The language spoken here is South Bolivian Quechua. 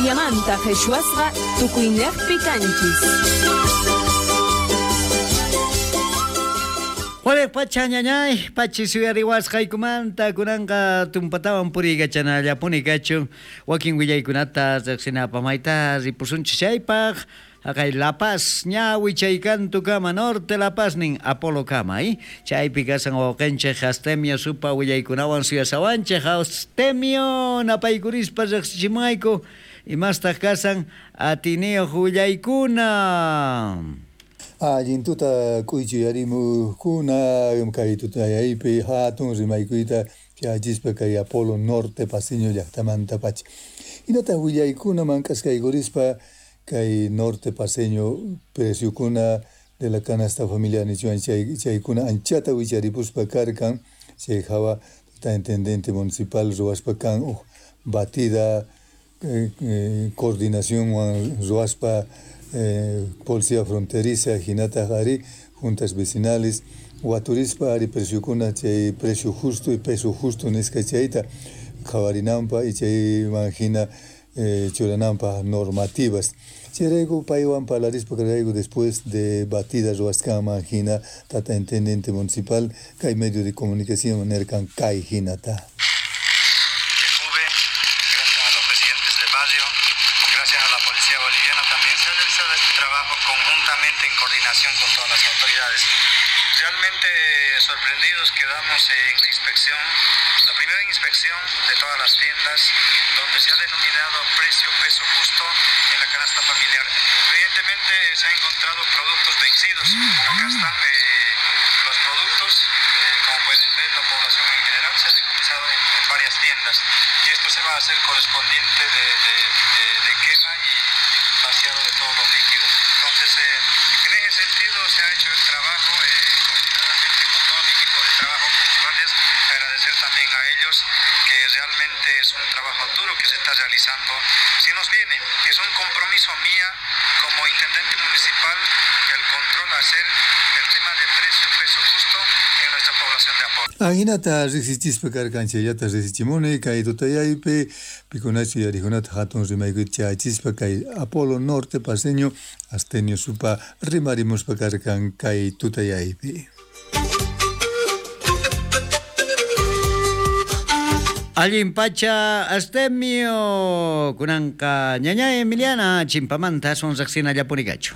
Boliviamanta qhichwasqa tukuynejpi kanchis. Waliq pacha ñañay, pachi suyariwasqaykumanta kunanqa tumpatawan puriykachanallapuni kachun wakin willaykunata riqsinapaq mayta ripusunchis chaypaq haqay La Paz ña wichaykantukama Norte La Paz nin Apolo kama chaypi kasan wawqinchik Astemio supa willaykunawan suyasawanchik. Astemio napaykurispa riqsichimuwayku imastaq kasan atiniyuq willaykuna. Allin tuta k'uychuyarimuqkuna kay tutayaypi hatun rimaykuyta chayachispa kay Apolo Norte Paceño llaqtamanta pacha. Hinataq willaykuna mank'askaykurispa kay Norte Paceño preciokuna de la canasta familiar nichuan chaykuna anchata wicharipuspa karkan chay hawa tata intendente municipal ruwaspa kan huk batida coordinacionwan ruwaspa policía fronteriza hinataq ari juntas vecinales waturispa ari preciokuna chay precio justo y peso justo nisqa chayta qhawarinanpaq y chayman hina churananpaq normativas. Chayrayku paywan parlarispa karqayku después de batida ruwasqanman hina tata intendente municipal kay medio de comunicación nerkan kay hinata. Gracias a los presidentes de barrio, gracias a la policía boliviana también se ha realizado este trabajo conjuntamente en coordinación con todas las autoridades. Realmente sorprendidos quedamos en la inspección, la primera inspección de todas las tiendas donde se ha denominado precio peso justo en la canasta familiar. Evidentemente se han encontrado productos vencidos. Acá están los productos, como pueden ver, la población en general se ha decomisado en varias tiendas y esto se va a hacer correspondiente de quema y vaciado de todos los líquidos. Entonces, en ese sentido se ha hecho el trabajo coordinadamente con todo mi equipo de trabajo, con los guardias. Agradecer también a ellos que realmente es un trabajo duro que se está realizando. Si nos viene, es un compromiso mía como intendente municipal el control hacer el tema de precio, peso justo en nuestra población de Apolo. Ahinata riqsichispa karkan chayllata riqsichimuni kay tutayaypi pikunachu yarikunata hatun rimaykuyta chayachispa kay Apolo Norte Paceño Astenio Supa rimarimuspa karkan kay tutayaypi. Allin pacha Astemio kunanqa ñañay Emiliana chimpamanta aswan riqsinallapuni kachu.